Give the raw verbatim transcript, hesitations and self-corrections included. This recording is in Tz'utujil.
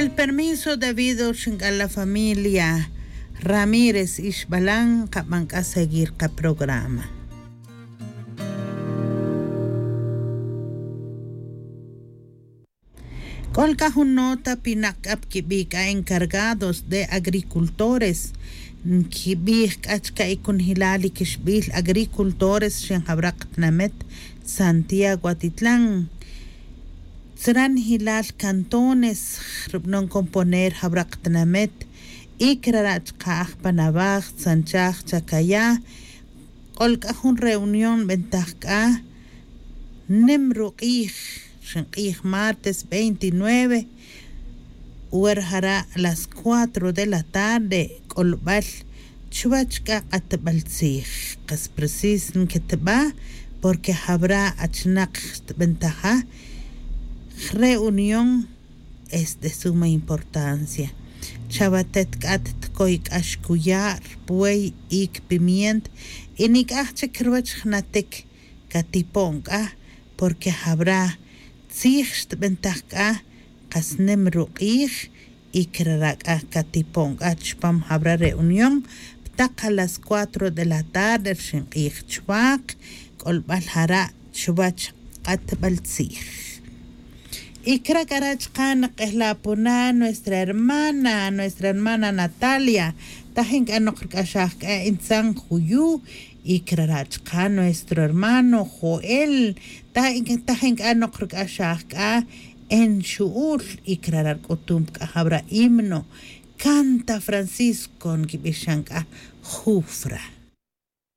El permiso debido xink'al la familia ramírez ixbalan kaban k'a seguir kaprograma. K'ol k'a jun nota pinaq k'a pkibi' k'a encargados de agricultores. Nkibij k'a chka' ikunjilal ikixbil agricultores xin jawra' katinamet santiago atitlan. Tzranjilal cantones rubanon componer jawra' katinamet. Y kirara' chka' aj panabaj tzanchaj chakaya'. K'ol k'a jun reunión nbentaj k'a nim ruk'ij, xink'ij martes veintinueve, wer jara' las cuatro de la tarde k'olbal chuwech k'a q'atbal tzij. Qas precis nkitba' porque jawra' achnaq xtbentaja reunión. Es de suma importancia. Chawatet k'a tkoy k'a xkuya' rpuey y kpimient y nik'aj chik ruwech jnatik katipo'n k'a porque jawra' tzij xtb'entaj k'a qas nim ruq'ij. Y kirara' k'a katipo'n k'a chpam jawra' reunión ptaq a las cuatro de la tarde rxin q'ij chwaq k'olb'al jara' chwach q'atb'al tzij. Y kira' k'ara' chqan nq'ejlapuna nuestra hermana nuestra hermana natalia. Tajin k'a noq rk'axaj k'a intzan juyu'. Y kirara' chqan nuestro hermano joel. Tajin k'a noq rk'axaj k'a en xu'ul. Y kirara' rk'utum k'a jawra' himno canta francisco nkib'ixan k'a jufra.